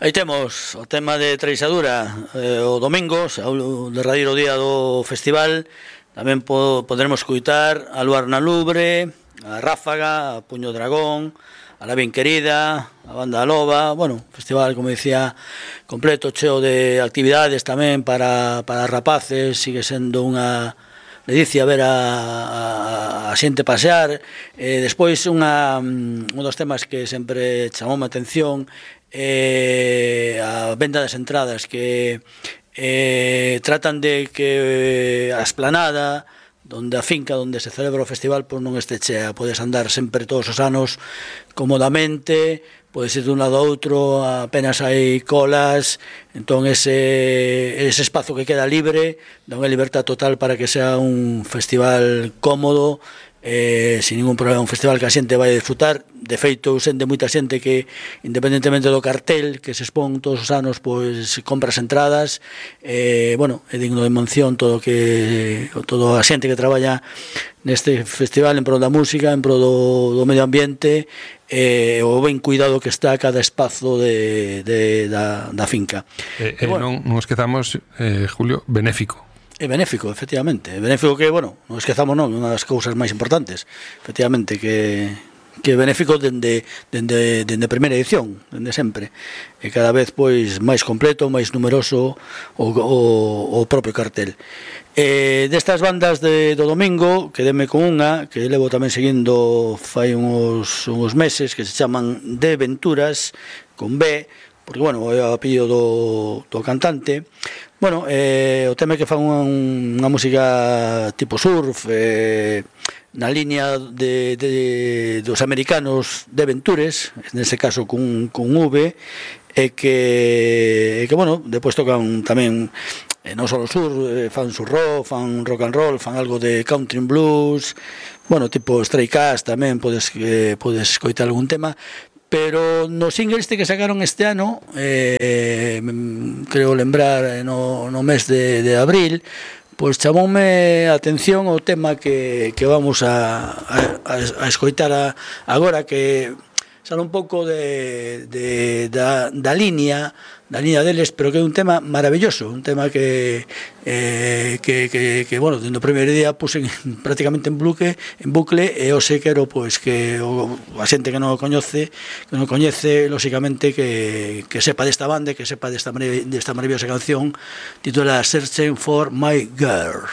Aí temos o tema de Treixadura o domingo, o derradeiro día do festival. Tamén poderemos escutar a Luar na Lubre, a Ráfaga, a Puño Dragón, a La Bien Querida, a Banda Loba. Bueno, festival, como dicía, completo, cheo de actividades tamén para rapaces. Sigue sendo unha ledicia ver a xente pasear. Despois un dos temas que sempre chamou a atención a venda das entradas, que tratan de que a esplanada donde a finca onde se celebra o festival pois non este chea, podes andar sempre todos os anos cómodamente, podes ir dun lado a outro, apenas hai colas. Entón ese espazo que queda libre dá unha libertad total para que sea un festival cómodo, sin ningún problema, un festival que a xente vai a disfrutar. De feito, sente moita xente que, independentemente do cartel que se expón todos os anos, pois compras entradas. Bueno, é digno de mención toda a xente que traballa neste festival en pro da música, en pro do medio ambiente, o ben cuidado que está cada espazo da finca. Bueno, non esquezamos, Julio, benéfico. É benéfico, efectivamente. É benéfico que, bueno, non esquezamos non, unha das cousas máis importantes, efectivamente, que é benéfico dende a primeira edición, dende sempre. E cada vez, pois, máis completo, máis numeroso o propio cartel. Destas bandas do domingo, quedeme con unha que levo tamén seguindo fai uns meses, que se chaman De Venturas, con B, porque, bueno, é o apellido do cantante. Bueno, o tema é que fan unha música tipo surf, na línea dos americanos de Ventures, nese caso cun V, e que bueno, depois tocan tamén non só sur, fan surf, fan rock and roll, fan algo de country and blues, bueno, tipo Stray Cats tamén podes escoitar algún tema. Pero no single que sacaron este ano, creo lembrar no mes de abril, pois chamoume a atención o tema que vamos a escoitar agora, que sale un pouco da línea deles, pero que é un tema maravilloso, un tema que bueno, dentro do primeiro día puse prácticamente en bucle, e hoxe quero pois que a xente que non o coñece, lóxicamente que sepa desta banda, que sepa desta maravillosa canción titulada Searching for My Girl.